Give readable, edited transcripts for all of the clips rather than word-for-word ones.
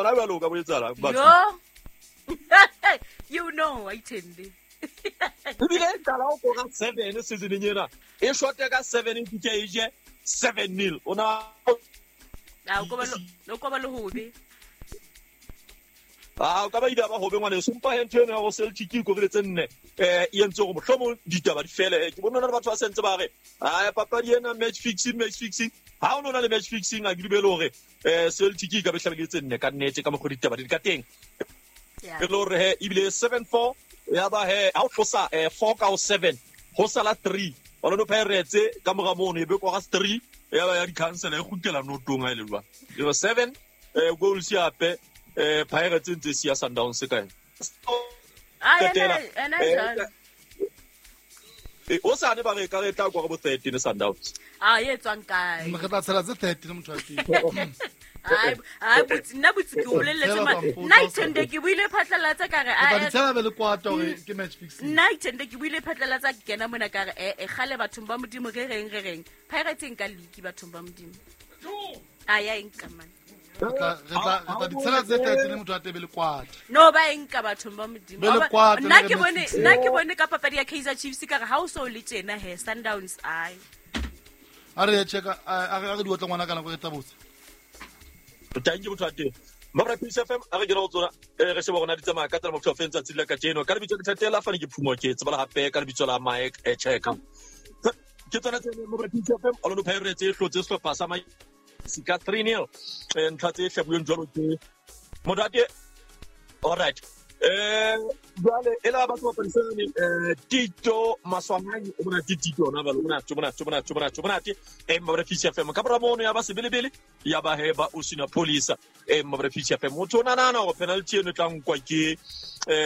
Gona bjalo o ka bo etsala. Yo. You know, I tende. Ebile e qala go kora 7 seasoneng ena. E shote ka 7 e fitlhe e je 7-0. O na A o ko ba le o ko ba le hobe. A o ka ba ile ba hobe ngwaneso. Empa he ntho eno ya go Celtic e korile tse nne e entse gore mohlomong ditaba di fele. Ke bone le batho ba sentse ba re a papadi ena match fixing, match fixing. Ha o no na le match fixing a ke dumele hore Celtic e ka be hlabile tse nne ka nnete ka mokgwa ditaba di ka teng. E le hore he ebile 7-4 ya ba he ha o tlosa 4 ka o 7 ho sala 3. Orlando Pirates ka mora mono e be kora 3 ya ba ya di-council e kgutlela notong ha e le jwang. 7 goals hape Pirates ntse siya Sundowns ka ena. O sane ba re ka re tla kwa bo 13 Sundowns. A e tswang kae? Re tla tshela tse 13 motho wa teng. Ai ai botsi nna botsi ke o boleletse ma nna ithende ke buile phatlalatsa ka re a tshela be le kwata hore ke match fixing. Nna ithende ke buile phatlalatsa ke kena mona ka re e gale bathong ba Modimo re reng re reng Pirates nka league bathong ba Modimo. A ya eng ka man. Re tla di tshela tse 13 motho a tebe le kwata. No ba eng ka bathong ba Modimo. Nna ke bone nna ke bone ka papadi ya Kaizer Chiefs ka re ha o so le tjena he Sundowns ai. A re checka a re di otla ngwana kana go etsa botse. Thank you motho a teng. Mabra Peace FM a re kena go tsona re sheba gona di tsamaya ka tsela motho a fentsa tsela ka tseno ka lebitso ke thatela fane ke phumo ke tsebala hape ka lebitso la Mike Cheka. Ke tsona tse Mabra Peace FM Orlando Pirates e hlotse sehlopha sa ka 3-0 ntlha tse hlabulweng jwalo ke Modate. All right. Jwale e la batho ba parisane Tito Maswanganyi o bona Tito ona ba lona tshobona tshobona tshobona tshobona Mabra Peace FM ka bora mono ya ba sebelebele ya ba he ba Osina Police Mabra Peace FM motho o nana go penalty eno tla nkwa ke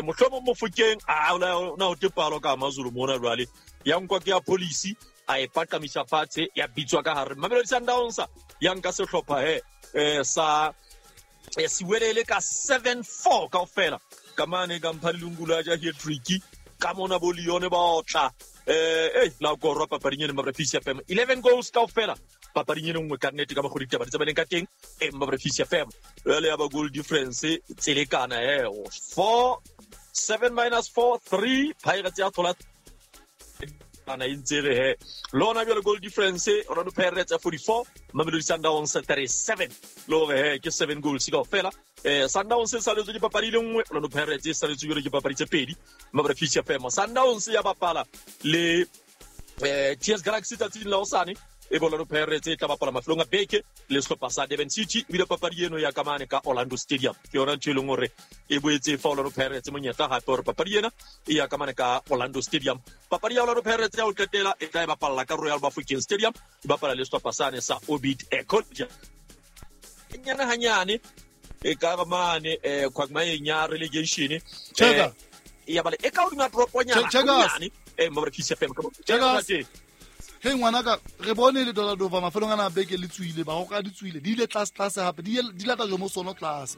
mohlomong Mofokeng a na o tepalo ka Amazulu mona jwale ya nkwa ke ya police a e paqamisa fatshe ya bitswa ka hare Mamelodi Sundowns ya nka sehlopha he sa Siwelele ka 7-4 kaofela ka mane ka mpha lelungulo a ja hat-trick ka mona bo Leone ba otla la korwa papading eno Mabra Peace FM 11 goals kaofela papading eno nngwe ka nnete ka mokgwa ditaba di tsamayang ka teng Mabra Peace FM jwale ya ba goal difference tselekana 4 7 minus 4 3 Pirates ya thola ana e ntse re he lona jwale goal difference Orlando Pirates 44 Mamelodi Sundowns 37 le hore he ke 7 goals kaofela Sundowns e saletswe ke papadi le nngwe Orlando Pirates e saletswe jwale ke papadi tse pedi Mabra Peace FM Sundowns ya bapala le TS Galaxy tsatsing la hosane e Orlando Pirates e tla bapala mafelong a beke le sehlopha sa Durban City ebile papadi eno ya kamane ka Orlando Stadium ke yona ntho e leng hore e boetse fa Orlando Pirates monyetla hape hore papadi ena e ya kamane ka Orlando Stadium. Papadi ya Orlando Pirates ya ho qetela e tla e bapalla ka Royal Bafokeng Stadium e bapala le sehlopha sane sa Orbit College. Nyane hanyane e ka mane Quagmire ya relegation ya bale e ka hodima toroponyana nyane Mabra Peace FM ka Hey ngwanaka re bone le Dollar Dova mafelong ana beke le tswile ba go ka di tswile di ile tlase tlase hape di lata jo mo sono tlase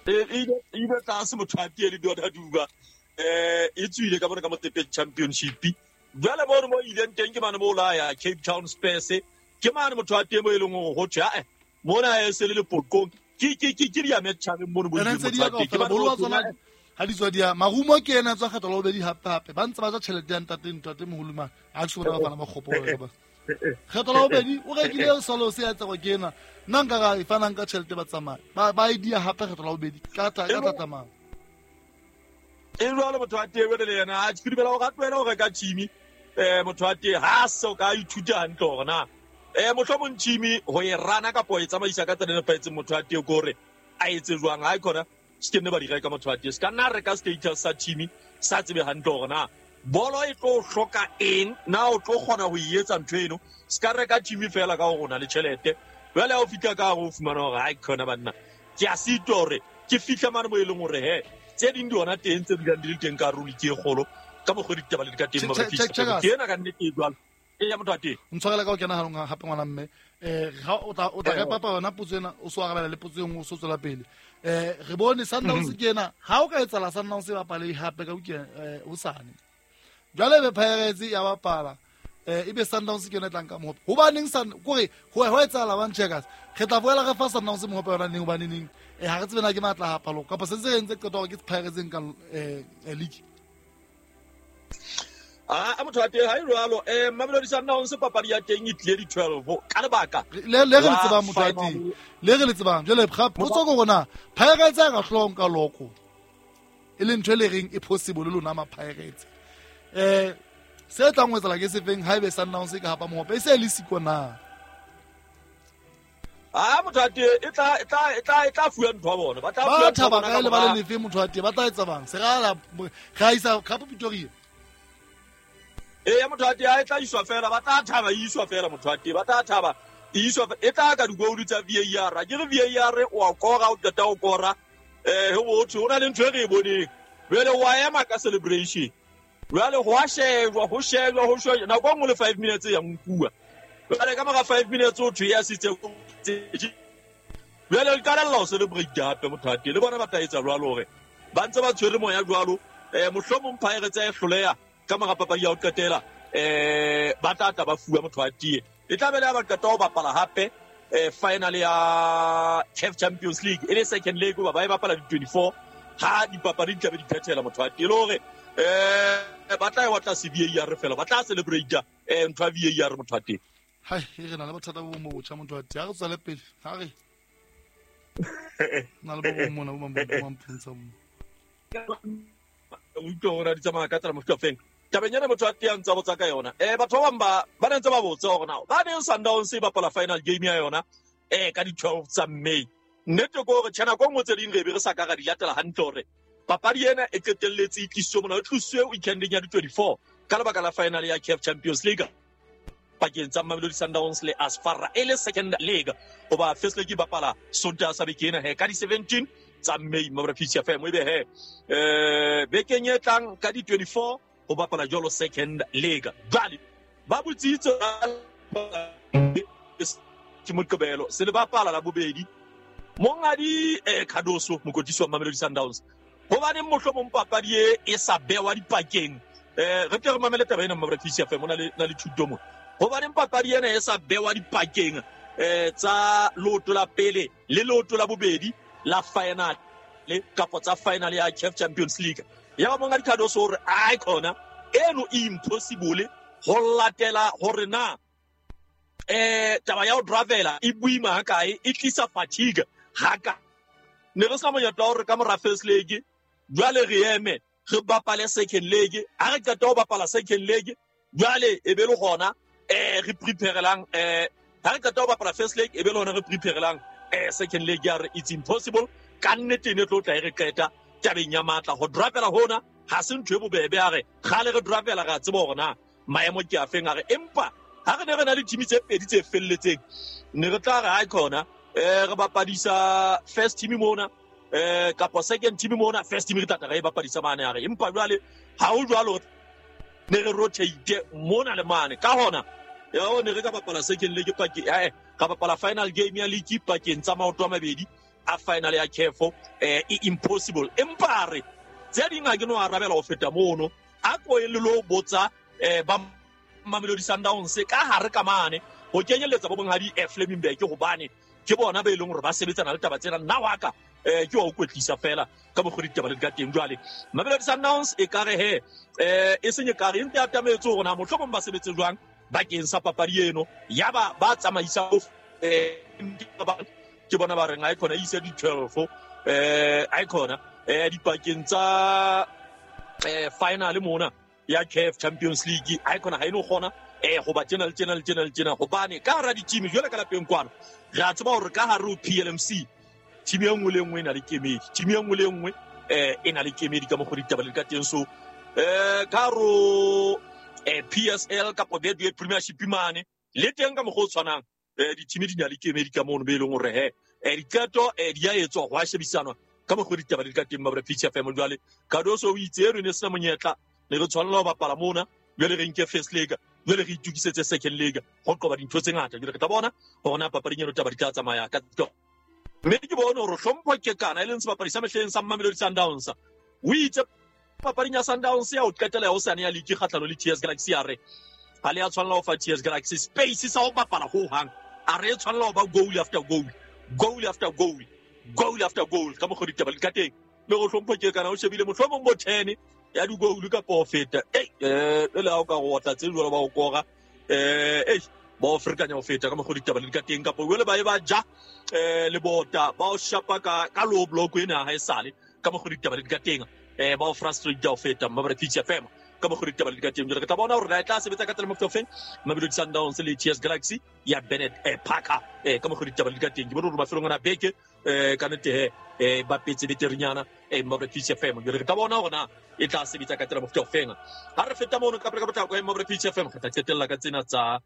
e ile tlase motho a tie le Dollar Duba e tswile ka bona ka Motepe Championship jwale mo mo ileng teng ke mane mo la ya Cape Town Spurs ke mane motho a teng mo e leng hore ho thwe a mona e se le lepokong ke ke ke ke di ya metjhabeng mono bo di ke ba bolo tsona ha di tswa dia marumo ke ena tswa kgetho la bobedi hape hape ba ntse ba ja tjhelete ya ntate ntate moholo mang ha ke se bona ba fana makgopo ba kgetho la bobedi o rekile solo se ya tsego ke ena nna nka ga e fanang ka tjhelete ba tsamaya ba e dia hape kgetho la bobedi ka tla e jwalo motho a teng le yena a ke dumela hore a tlohele ho reka team motho a teng ha se ka ithuta hantle hore na mohlomong team ho e rana kapa ho e tsamaisa ka tsela e nepahetseng motho a teng ke hore a etse jwang ha e khona se ke nne ba di reka motho a teng se ka nna reka status sa team sa tsebe hantle hore na bolo e tlo hloka eng na o tlo kgona ho e etsa ntho eno se ka reka team fela ka hore o na le tjhelete jwale ha o fihla ka hare o fumana hore ha e khona banna ke a sitwa hore ke fihla mane mo e leng hore he tse ding di hona teng tse dulang di le teng ka ruri ke e kgolo ka mokgwa ditaba le di ka teng ke ena ka nnete e jwalo e ya motho a teng ntshwarela ka o kena hanong hape ngwana mme ga o tla re papa yona potso ena o so arabela le potso e nngwe o so tswela pele re bone Sundowns ke ena ha o ka etsala Sundowns e bapale hape ka o sane jwale be Pirates ya bapala Ebe Sundowns ke yona e tlang ka mohope. Hobaneng kore ho etsahala bang Checkers? Re tla boela re fa Sundowns mohope yona neng hobane neng ha re tsebe na ke matla ha palo kapa se ntse re entse qeto hore ke Pirates e nkang league. A motho wa teng ha e jwalo. Mamelodi Sundowns papadi ya teng e tlile di 12 ka lebaka le re le tsebang motho wa teng, le re le tsebang jwale potso ke rona Pirates a ka hlong ka loko e le ntho e le reng e possible lona ma Pirates. Se tlang ho etsala ke sefeng ha ebe Sundowns e ka hapa mohope e se le siko na? A motho wa teng e tla fuwa ntho ya bona. Ba tla fuwa ntho ya bona ka lebala lefe motho wa teng ba tla etsa bang? Se ra isa Cup Pretoria. Ya motho wa teng e tla iswa fela, ba tla thaba e iswa fela motho wa teng, ba tla thaba e iswa e tla ka digoulu tsa VAR. Ke re VAR o a kora, o qeta o kora. Ho botho ho na le ntho e re e boneng. Jwale wa ema ka celebration. Jwale ho a shejwa, ho shejwa, ho shejwa. Nako e nngwe le 5 minutes ya nkuwa. Jwale ka mora 5 minutes o thwe ya sitse. Jwale le qalella ho celebrate hape motho wa teng. Le bona ba tla etsa jwalo hore ba ntse ba tshwere moya jwalo. Mohlomong Pirates e hloleha ka mora papadi ya ho qetela, ba tla tla ba fuwa motho wa teng. E tla be le ha ba qeta ho bapala hape final ya CAF Champions League e le second leg ba e bapala di 24 ha dipapadi di tla be di phethela motho wa teng. Le hore ba tla e batla se VAR fela, ba tla celebrate ntho ya VAR motho wa teng. Hai, re na le bothata bo bong bo botjha motho wa teng. Ha re tswele pele, ha re na le bo bong mona bo mamphuntsha mo. O utlwa hore di tsamaya ka tsela mofuta feng. Tabeng ena motho wa teng a ntse a botsa ka yona. Batho ba bang ba ne ntse ba botsa hore na ba neng Sundowns e bapala final game ya yona ka di 12 tsa May. Nnete ke hore tjhe nako e nngwe tse ding re be re sa ka ra di latela hantle hore papadi ena e qetelletse e tlisitswe mona, e tlositswe weekendeng ya di 24 ka lebaka la final ya CAF Champions League pakeng tsa Mamelodi Sundowns le Asfara e le second leg. Hoba first leg e bapala Sontaha sa beke ena he ka di 17 tsa May mabra Peace FM ebe he bekeng e tlang ka di 24 ho bapala jwalo second leg. Jwale ba botsitse ke Moqebelo se le bapala la bobedi. Monghadi Cardoso mokotisi wa Mamelodi Sundowns hobaneng mohlomong papadi e sa bewa dipakeng. Re tle re mamele taba ena mabra Peace FM na le thuto mo. Hobaneng papadi ena e sa bewa dipakeng tsa leoto la pele le leoto la bobedi la final le kapa tsa final ya CAF Champions League. Ya ba monghadi Cardoso hore ai khona eno e impossible ho latela hore na taba ya ho travela e boima ha kae, e tlisa fatigue ha ka. Ne re sa monyetla hore ka mora first leg jwale re eme re bapale second leg. Ha re qeta ho bapala second leg jwale e be le hona re preparelang ha re qeta ho bapala first leg e be le hona re preparelang second leg. Ya re it's impossible ka nnete ne tlo tla e re qeta tabeng ya matla ho drapela hona ha se ntho e bobebe. A re kgale re drapela ra tseba hore na maemo ke a feng. A re empa ha re ne re na le team tse pedi tse felletseng ne re tla re ha khona re bapadisa first team mona kapa second team mona, first team re tla re bapadisa mane. A re empa jwale ha ho jwalo ne re rotate mona le mane. Ka hona ya ne re ka bapala second leg pakeng ka bapala final game ya league pakeng tsa maoto a mabedi a final ya CAF e impossible. Empa re tse ding ha ke no arabela ho feta mono a ko e le lo botsa ba Mamelodi Sundowns ka hare ka mane ho kenyelletsa bo bonghadi Flemingberg hobane ke bona ba e leng hore ba sebetsana le taba tsena. Nna wa ka ke wa o kwetlisa fela ka mokgwa ditaba le ka teng. Jwale Mamelodi Sundowns e ka re he e seng e ka re ntse atametse hore na mohlomong ba sebetse jwang bakeng sa papadi eno. Ya ba ba tsamaisa ke bona ba reng ha e khona ise di 12 ha e khona dipakeng tsa final mona ya CAF Champions League ha e khona ha eno kgona go ba tjena le tjena le tjena le tjena hobane ka hara di-team jwale ka lapeng kwana re a tseba hore ka hare ho PLMC team e nngwe le nngwe e na le kemedi, team e nngwe le nngwe e na le kemedi ka mokgwa ditaba le ka teng. So ka hare PSL kapa Betway Premiership mane le teng ka mokgwa o tshwanang di-team di na le kemedi ka mono be e leng hore he diqeto di a etswa ho a shebisanwa ka mokgwa ditaba le ka teng mabra Peace FM. Jwale Cardoso o itse eno ne sena monyetla ne re tshwanela ho bapala mona jwale re nke first leg jwale re itukisetse second leg ho qoba dintho tse ngata. Jwale re tla bona hore na papading eno taba di tla tsamaya ka mme ke bone hore hlompho ke kana e leng sebapadi sa mehleng sa Mamelodi Sundowns o itse papading ya Sundowns ya ho qetela ya hosane ya league kgahlano le TS Galaxy. A re Ha le a tshwanela ho fa TS Galaxy space sa ho bapala ho hang. A re tshwanela ho ba goal after goal, goal after goal, goal after goal ka mokgwa ditaba di ka teng. Le go hlompho ke kana o shebile mohlomong bo 10 ya di-goal kapa ho feta. Le ha o ka go otla tse jwalo ba go kora ba o ferekanya ho feta ka mokgwa ditaba di ka teng, kapa jwale ba e ba ja lebota ba o shapa ka low block ena ha e sale ka mokgwa ditaba di ka teng, ba o frustrate ho feta Mmabre Peace FM ka mokgwa ditaba di ka teng. Jwale re tla bona hore na e tla sebetsa ka tsela mofuta ofeng Mamelodi Sundowns le TS Galaxy ya Bennett Parker ka mokgwa ditaba di ka teng. Ke bone hore mafelong ana beke ka nnete he ba petse beterinyana Mmabre Peace FM. Jwale re tla bona hore na e tla sebetsa ka tsela mofuta ofeng. Ha re feta mono ka pele ka potlako Mmabre Peace FM, re tla qetella ka tsena tsa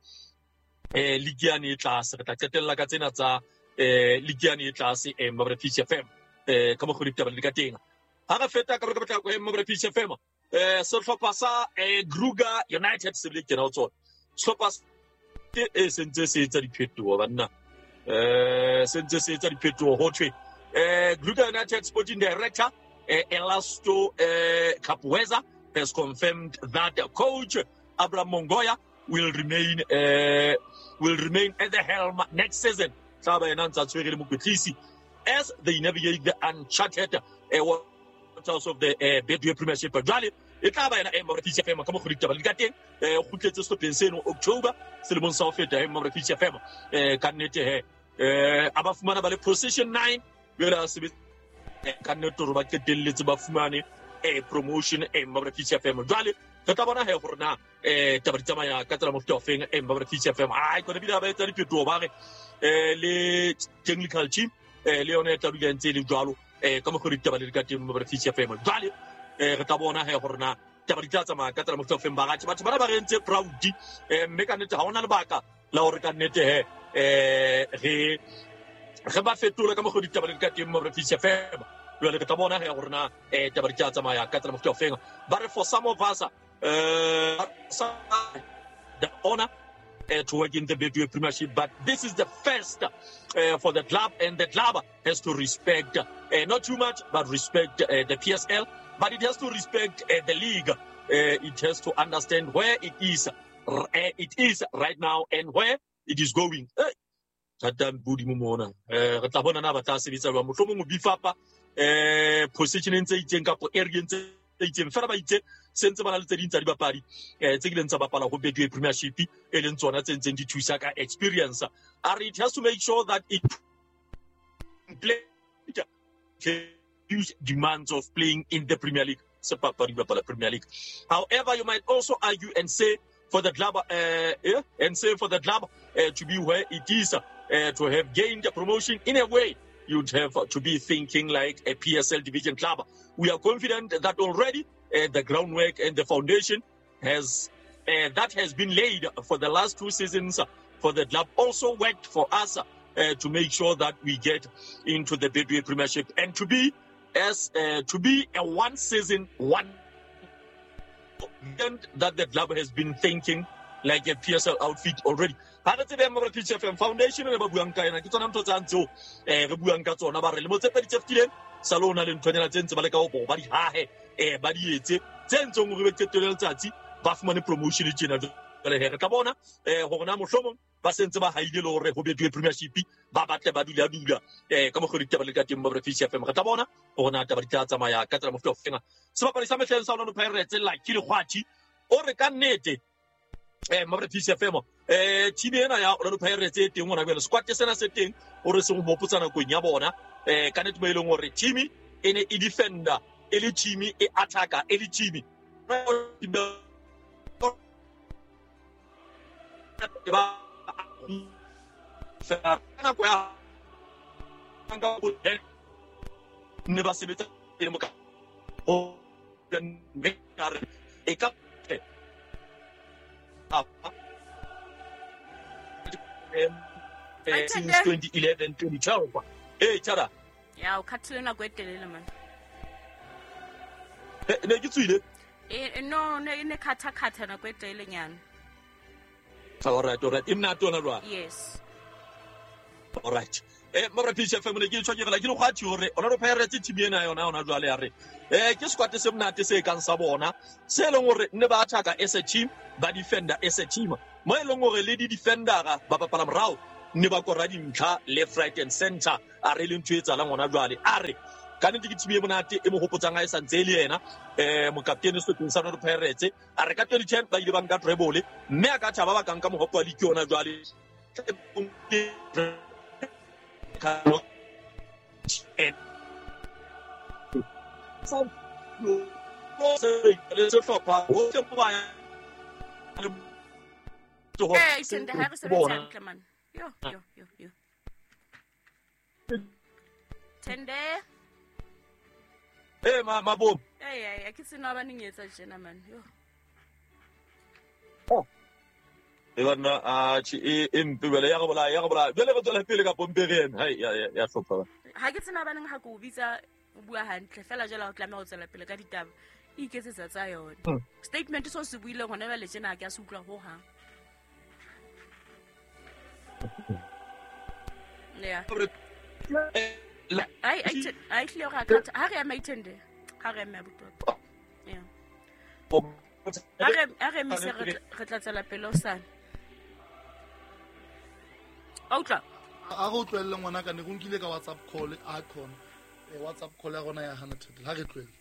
league yane e tlase. Re tla qetella ka tsena tsa league yane e tlase Mmabre Peace FM ka mokgwa ditaba di ka teng. Ha re feta ka pele ka potlako Mmabre Peace FM, sehlopha sa Kruger United se bile kena ho tsona. Sehlopha se ntse se etsa diphetoho banna, se ntse se etsa diphetoho ho thwe Kruger United Sporting Director Elasto Kapweza has confirmed that coach Abraham Mongoya will remain at the helm next season. Tla ba yena ntsa tshwere le mokwetlisi as they navigate the uncharted waters of the Betway Premiership. Jwale e tla ba yena Mmabre Peace FM ka mokgwa ditaba di ka teng. Kgutletse sehlopheng seno October selemong sa ho feta Mmabre Peace FM. Ka nnete he a ba fumana ba le position 9 jwale a sebetsa ka nnete hore ba qetelletse ba fumane promotion Mmabre Peace FM. Jwale re tla bona he hore na taba di tsamaya ka tsela mofuta ofeng Mmabre Peace FM. Ai kona bile ba etsa diphetoho ba re le technical team le yona e tla dula ntse e le jwalo ka mokgwa ditaba di ka teng Mmabre Peace FM. Jwale re tla bona he hore na taba di tla tsamaya ka tsela mofuta ofeng. Baratshi batho bana ba re entse proud mme ka nnete ha hona lebaka la hore ka nnete he re ba fetole ka mokgwa ditaba di ka teng Mmabre Peace FM. Jwale re tla bona he hore na taba di tla tsamaya ka tsela mofuta ofeng. Ba re for some of us the honor to work in the Betway Premiership, but this is the first for the club, and the club has to respect not too much, but respect the PSL, but it has to respect the league. It has to understand where it is right now and where it is going. Thatang bodimo mona re tla bona na ba tla sebetsa jwang, mohlomong o bifapa position tse itseng kapa area tse itseng fela ba itse se ntse ba na le tse ding tsa dibapadi tse kileng tsa bapala ho Betway Premiership e leng tsona tse ntseng di thusa ka experience. A re it has to make sure that it play huge demands of playing in the Premier League. Se papadi bapala Premier League. However, you might also argue and say for the club to be where it is, to have gained a promotion in a way, you'd have to be thinking like a PSL division club. We are confident that already the groundwork and the foundation has that has been laid for the last two seasons for the club also worked for us to make sure that we get into the Betway Premiership and to be a one season one that the club has been thinking like a PSL outfit already. Ha re tsebe Mmabre Peace FM foundation le ba buang ka yona ke tsona ntho tsa ntse re buang ka tsona ba re le motse pedi tse fetileng sa lona le nthonyana tse ntse ba le ka go ba di hahe ba di etse tse ntseng hore be qetelo letsatsi ba fumane promotion tjena. Jwale he re tla bona hore na mohlomong ba sentse ba haile le hore ho Betway Premiership ba batle ba dula ka mokgwa ditaba le ka teng Mmabre Peace FM. Re tla bona hore na taba di tla tsamaya ka tsela mofuta ofeng. Sebapadi sa mehleng sa Orlando Pirates Lucky Lekgwathi o re ka nnete Mmabre Peace FM team ena ya Orlando Pirates e teng hona jwale, squad sena se teng o re seng ho hopotsa nakong ya bona ka nnete mo e leng hore team e ne e defender e le team e attacker e le team ba nako ya ne ba sebetsa le mo ka o e ka since 2011 2012 tjara ya o khathile nako e telele man. Ne ke tswile no ne khatha nako e telele nyana. All right. E mnate yona jwale. Yes. All right. Mabra Peace FM ne ke tshwa ke re la ke le kgwathi hore Orlando Pirates team ena yona yona jwale ya re ke squad se monate se kang sa bona se leng hore ne ba attack as a team, ba defender as a team, mo e leng hore le di defendera ba bapala morao ne ba kora dintlha left, right and center. A re le ntho e tsalang hona jwale, a re ka nnete ke team e monate e mo hopotsang ha e santse e le yena mokaptene sehlopeng sa Orlando Pirates. A re ka 2010 ba ile ba nka treble, mme a ka thaba ba ka nka mohope wa league yona jwale. Eh, Thende, ha re sebetse hantle man. Yo, yo, yo, yo. Thende. Eh, ma mabom. Eh, eh, ke sena ba neng etsa tjena man. Yo. Oh. E banna a chi e mpe bele ya go bolaya ya go bolaya. Bele go tswela pele ka pompere ena. Hai ya ya hlopha ba. Ha ke tsena ba neng ha ke o bitsa o bua hantle fela jela o tlameha ho tswela pele ka ditaba. E iketsetsa tsa yona. Statement so se buileng hona jwale tjena ha ke a se utlwa ho hang. Yeah. Ai ai tlile go ka ha re ema Ithende. Ha re ema botwa. Yeah. Ha re mise re tla tswela pele o sane. Outla. A go tlohelle ngwana ka ne go nkile ka WhatsApp call a khona. WhatsApp call ya rona ya hana thete. Ha re tlohelle.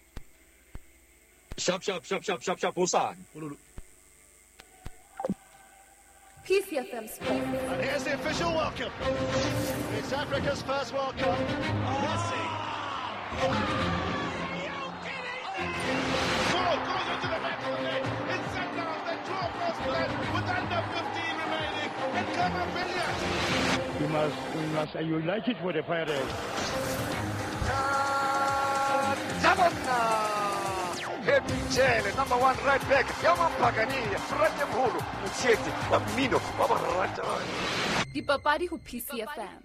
Sharp sharp sharp sharp sharp sharp o sane. Ololo. PCFM Sports. And here's the official welcome. It's Africa's first World Cup. Messi. Goal goes into the back of the net. It's Sundowns that draw first blood with under 15 remaining. And Khama Billiat. We must unite it with the Pirates. Michele, number 1 right back. Yaman Pagani, Frate Mholo, Mtshetsi, wa mmino wa borata. Dipapadi ho PCFM.